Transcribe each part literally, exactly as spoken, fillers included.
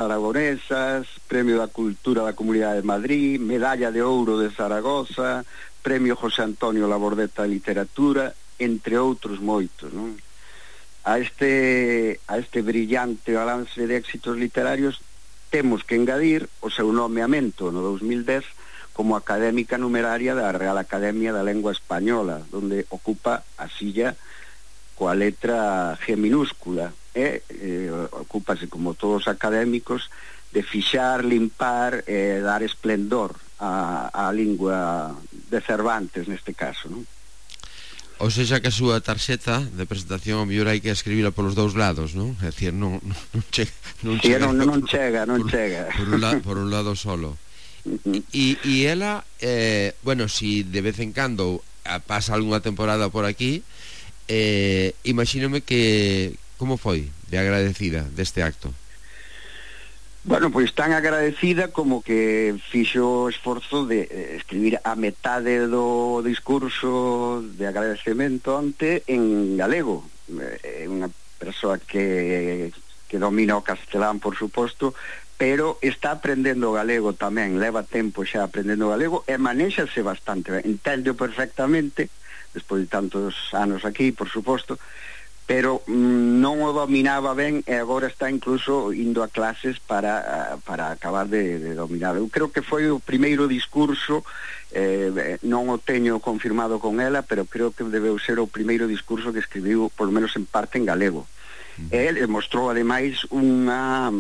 Aragonesas, Premio da Cultura da Comunidade de Madrid, Medalla de Ouro de Zaragoza, Premio José Antonio Labordeta de Literatura, entre outros moitos, non? A este, a este brillante balance de éxitos literarios temos que engadir o seu nomeamento no dos mil dez como académica numeraria da Real Academia da Lengua Española, donde ocupa a silla coa letra G minúscula, e eh, ocúpase, como todos os académicos, de fixar, limpar e eh, dar esplendor á, á lingua de Cervantes, neste caso, non? Ou seja, que a súa tarxeta de presentación, o mellor hai que escribila polos dous lados, non? É dicir, non, non chega, non sí, chega, non, non chega, non por, chega. Por un, la, por un lado solo. E, e ela, eh, bueno, si de vez en cando pasa algunha temporada por aquí, eh, imagínome que como foi de agradecida deste acto? Bueno, pois tan agradecida como que fixo o esforzo de escribir a metade do discurso de agradecemento ante en galego. É unha persoa que, que domina o castelán, por suposto, pero está aprendendo o galego tamén, leva tempo xa aprendendo o galego e manéxase bastante ben, entende perfectamente, despois de tantos anos aquí, por suposto, pero mm, non o dominaba ben e agora está incluso indo a clases para, para acabar de, de dominar. Eu creo que foi o primeiro discurso, eh, non o teño confirmado con ela, pero creo que debeu ser o primeiro discurso que escribiu, por lo menos en parte, en galego. Ele mostrou ademais unha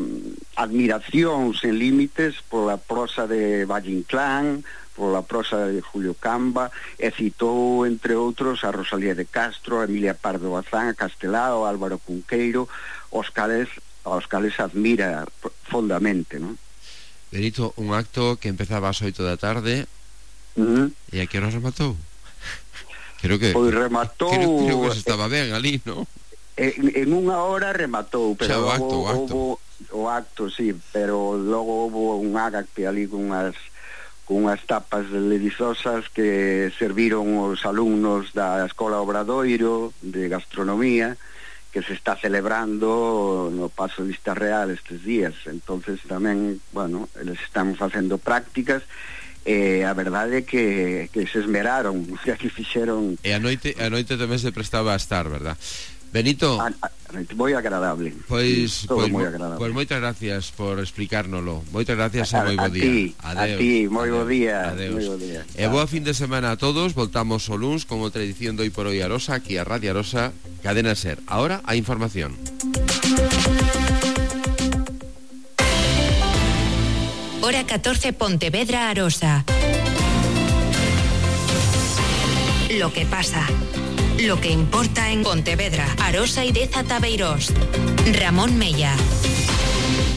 admiración sen límites pola prosa de Valle Inclán, pola prosa de Julio Camba, e citou, entre outros, a Rosalía de Castro, a Emilia Pardo Bazán, a Castelao, a Álvaro Cunqueiro, os cales, os cales admira fondamente, non? Benito, un acto que empezaba ás oito da tarde, uh-huh. E a que hora rematou? Creo que... Pois rematou... Creo, creo que se estaba ben ali, non? En, en unha hora rematou, pero o acto, o acto. Houbo, o acto, sí, pero logo houbo un agape ali con unhas con unhas tapas deliciosas que serviron os alumnos da Escola Obradoiro de Gastronomía, que se está celebrando no Pazo de Vista Real estes días. Entonces tamén, bueno, eles están facendo prácticas e a verdade é que, que se esmeraron, que aquí fixeron... E a noite, a noite tamén se prestaba a estar, verdad? Benito, a, a, moi agradable. Pois, todo pois, moi agradable. Pois moitas gracias por explicárnolo. Moitas gracias e moi bo día. Ti, a ti, moi bo día. Adeus. Moi bo día. E boa fin de semana a todos. Voltamos o luns con outra edición de Hoy por Hoy Arosa, aquí a Radio Arosa, Cadena Ser. Ahora a información. Hora catorce, Pontevedra, Arosa. Lo que pasa. Lo que importa en Pontevedra, Arosa y Deza Tabeirós. Ramón Mella.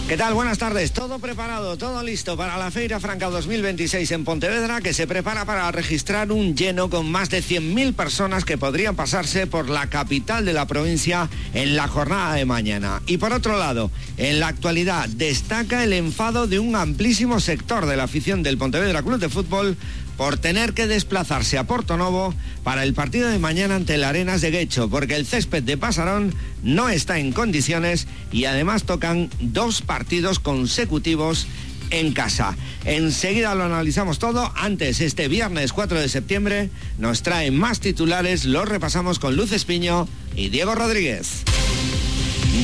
¿Qué tal? Buenas tardes. Todo preparado, todo listo para la Feira Franca dos mil veintiséis en Pontevedra, que se prepara para registrar un lleno con más de cien mil personas que podrían pasarse por la capital de la provincia en la jornada de mañana. Y por otro lado, en la actualidad destaca el enfado de un amplísimo sector de la afición del Pontevedra Club de Fútbol por tener que desplazarse a Portonovo para el partido de mañana ante el Arenas de Guecho, porque el césped de Pasarón no está en condiciones y además tocan dos partidos consecutivos en casa. Enseguida lo analizamos todo. Antes, este viernes cuatro de septiembre nos traen más titulares, los repasamos con Luz Espiño y Diego Rodríguez.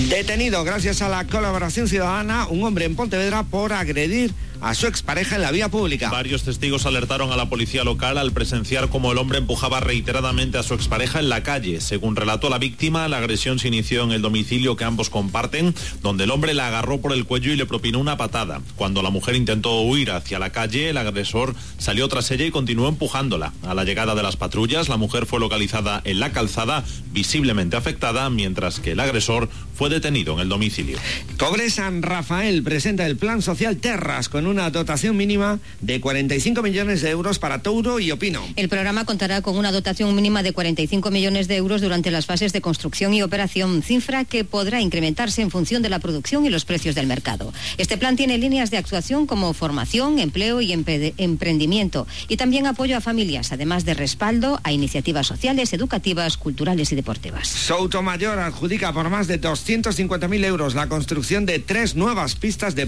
Detenido gracias a la colaboración ciudadana un hombre en Pontevedra por agredir a su expareja en la vía pública. Varios testigos alertaron a la policía local al presenciar cómo el hombre empujaba reiteradamente a su expareja en la calle. Según relató la víctima, la agresión se inició en el domicilio que ambos comparten, donde el hombre la agarró por el cuello y le propinó una patada. Cuando la mujer intentó huir hacia la calle, el agresor salió tras ella y continuó empujándola. A la llegada de las patrullas, la mujer fue localizada en la calzada, visiblemente afectada, mientras que el agresor fue detenido en el domicilio. Cobre San Rafael presenta el plan social Terras con una dotación mínima de cuarenta y cinco millones de euros para Touro y Opino. El programa contará con una dotación mínima de cuarenta y cinco millones de euros durante las fases de construcción y operación, cifra que podrá incrementarse en función de la producción y los precios del mercado. Este plan tiene líneas de actuación como formación, empleo y emprendimiento, y también apoyo a familias, además de respaldo a iniciativas sociales, educativas, culturales y deportivas. Soutomayor adjudica por más de doscientos cincuenta mil euros la construcción de tres nuevas pistas de